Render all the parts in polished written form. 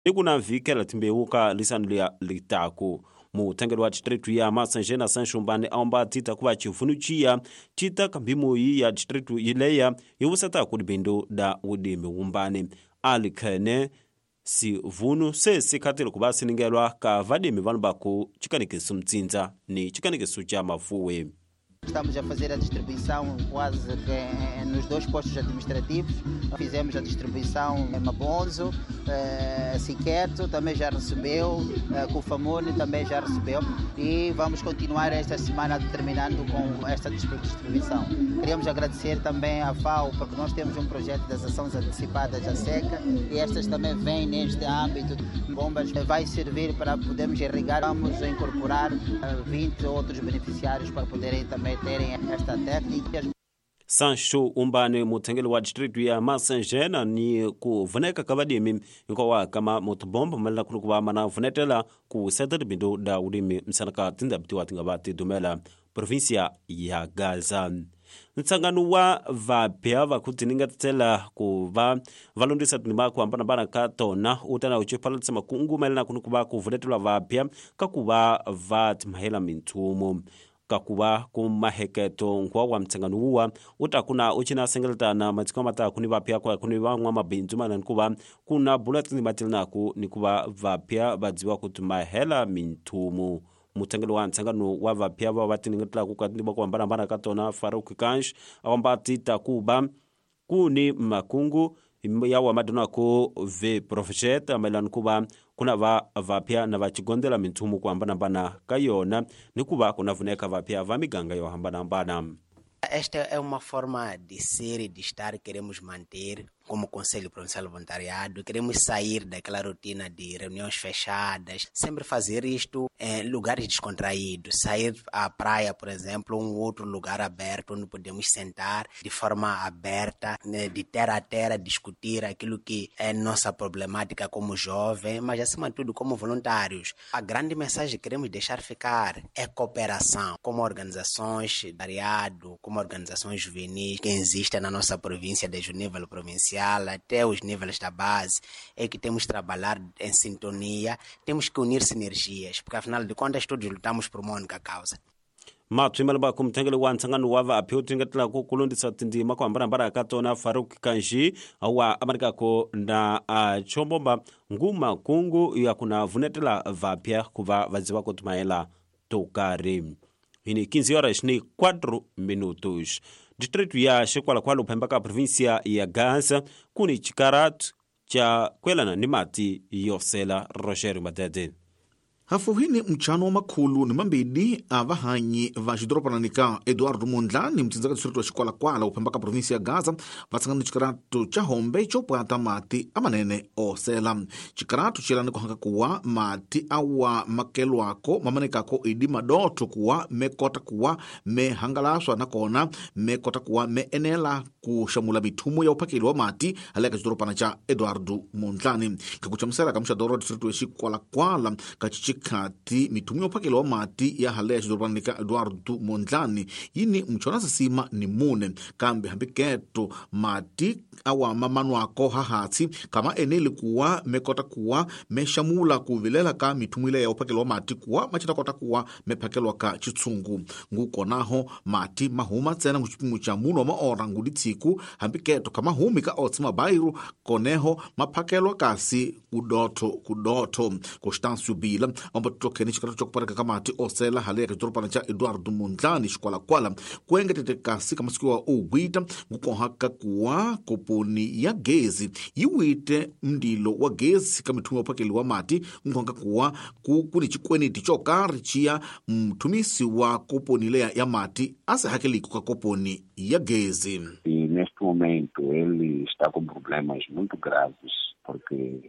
Ni ku na vhikela timbewu ka lisano liya litaku. Muthangeli wa distritu ya Masanjena Sanxumbani a omba tita ku va chivunu ciya cita ka mphimoyi ya distritu yileya yi wusetaku libindu da wudimi wumbani. Ali khene sivunu se sikhatile ku va siningelwa ka vadimi vanhu va ku chikanekiso mtsindza ni chikanekiso cha mafuwe. Estamos a fazer a distribuição quase que nos dois postos administrativos. Fizemos a distribuição em Mabonzo, Siqueto também já recebeu, Cufamone também já recebeu e vamos continuar esta semana terminando com esta distribuição. Queríamos agradecer também à FAO, porque nós temos um projeto das ações antecipadas à seca e estas também vêm neste âmbito. Bombas vai servir para podermos irrigar. Vamos incorporar 20 outros beneficiários para poderem também terem esta técnica. Sancho Umbani muthengeli wa distritu ya Masanjena ni ku vuneka ka vadimi hinkwawa kama mutibomba malela ku va mana vunetela ku seta tibindu da wulimi msana ka tindhawu tiwa ti nga va ti dumela provinsia ya Gaza. Ntsangano wa vapya va ku tiningatela ku va va londisa tinima ku hambanahambana ka tona u ta na u chipalatisa makungu mayelana ku ku va ku vunetelwa vapya ka ku va va timahela minthumo. Ka ku va ku maheketo nkwa wa mtsangano wuwa u ta ku na u cina sengeletana matiko ma ta ku ni vapya ku ni van'wamabindzu mana ni ku va ku na bula tinima tilinaku ni ku va vapya va dziwa ku timahela minthumo. Muthengeli wa ntsangano wa vapya va va tiningetelaku ka tinima ku hambanahambana ka tona Farouk Kansh a komba ti ta ku va ku ni makungu ya wa madonako ve profet mayelana ku va ku na va vapya na va chigondela minthumo ku hambanahambana ka yona ni ku va ku na vuneka vapya va miganga yo hambanahambana. Esta é uma forma de ser e de estar que queremos manter como Conselho Provincial de Voluntariado. Queremos sair daquela rotina de reuniões fechadas, sempre fazer isto em lugares descontraídos, sair à praia, por exemplo, um outro lugar aberto onde podemos sentar de forma aberta, né, de terra a terra, discutir aquilo que é nossa problemática como jovem, mas acima de tudo como voluntários. A grande mensagem que queremos deixar ficar é cooperação, como organizações de voluntariado, como organizações juvenis que existem na nossa província, desde o nível provincial até os níveis da base, é que temos que trabalhar em sintonia, temos que unir sinergias, porque afinal de contas todos lutamos por uma única causa. Matswimelo ba kumthengeli wa ntsangano wa vapya u tingetela ku kulondisa tindzima ku hambanahambana ka tona Farouk Kanji wa amanikako na chombomba nguma kungu ya ku na vunetela vapya ku va va dziva ku timayela to karhi. Hini 15 horas ni 4 minutos. Distrito ya Xikwalakwala uphemba ka província ya Gaza kuni chikaratu cha kwelana ni mati yosela Roger Madede. Hafuhini mchano wa makhulu ni mambidi a vahanyi va xidoropanani ka Eduardo Mondlane mutsindzaka distrito wa Xikwalakwala uphemba ka provinsi ya Gaza va tshangana ni xikaratu cha hombe xo pwata mati amanene osela. Xikaratu xi ku hanga kuwa mati awa makelwako mamanekako idi madotho kuwa me kota kuwa me hangalaswa nakona me kota kuwa me enela ku xamula mithumo ya uphakeli wa mati haleka xidorobana cha Eduardo Mondlane. Kakuchamusela ka muxadoro wa distrito wa Xikwalakwala ka khati mithumo ya uphakelo wa mati ya haleya xidorobanani ka Eduardo Mondlane yini mchona sisima ni mune kambe hambi keto mati awa mamanwako hahatsi kama eneli kuwa mekota kuwa mexamula ku vilela ka mithumo ile ya uphakelo wa mati kuwa machita kota kuwa mephakelwa ka chitsungu ngukonaho mati mahuma tsena nguchipimo cha muno wa maora ngudi tsiku hambi keto kama humi ka otsi mabairu koneho maphakelwa kasi kudotho kudotho. Constâncio Bila omba tutokheni xikaratu xa ku pareka ka mati osela haleya ka xidorobana xa Eduardo Mondlane Xikwalakwala ku engetete kasi ka masiku wa owita ngukoha ka kuwa koponi ya gezi yi wite mndilo wa gezi ka mithumo ya uphakeli wa mati ngukoha ka kuwa ku ni xikweneti xo karhi xiya mthumisi wa koponi leya ya mati a se hakeliku ka koponi ya gezi. E neste momento ele está com problemas muito graves porque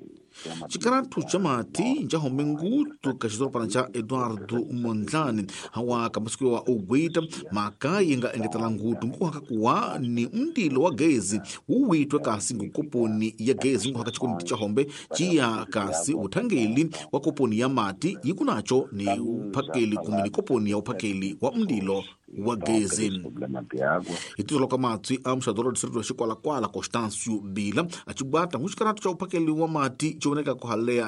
xikaratu xa mati xa home ngutu ka xidorobana xa Eduardo Mondlane hawa ka masiku wa owita mhaka yi nga engetela ngutu nguhaka kuwa ni mndilo wa gezi wu witwe kasi ngukoponi ya gezi nguhaka xikoniti xa hombe ciya kasi uthangeli wa koponi ya mati yi ku naco ni uphakeli kumbe ni koponi ya uphakeli wa mndilo wa Estão a ter gezi. esse problema de água. Hi titolo ka matswi a muxadoro wa distrito wa Xikwalakwala, Constancio Bila, acibwata n'wixikarato xa uphakeli wa mati ci voneka ku haleya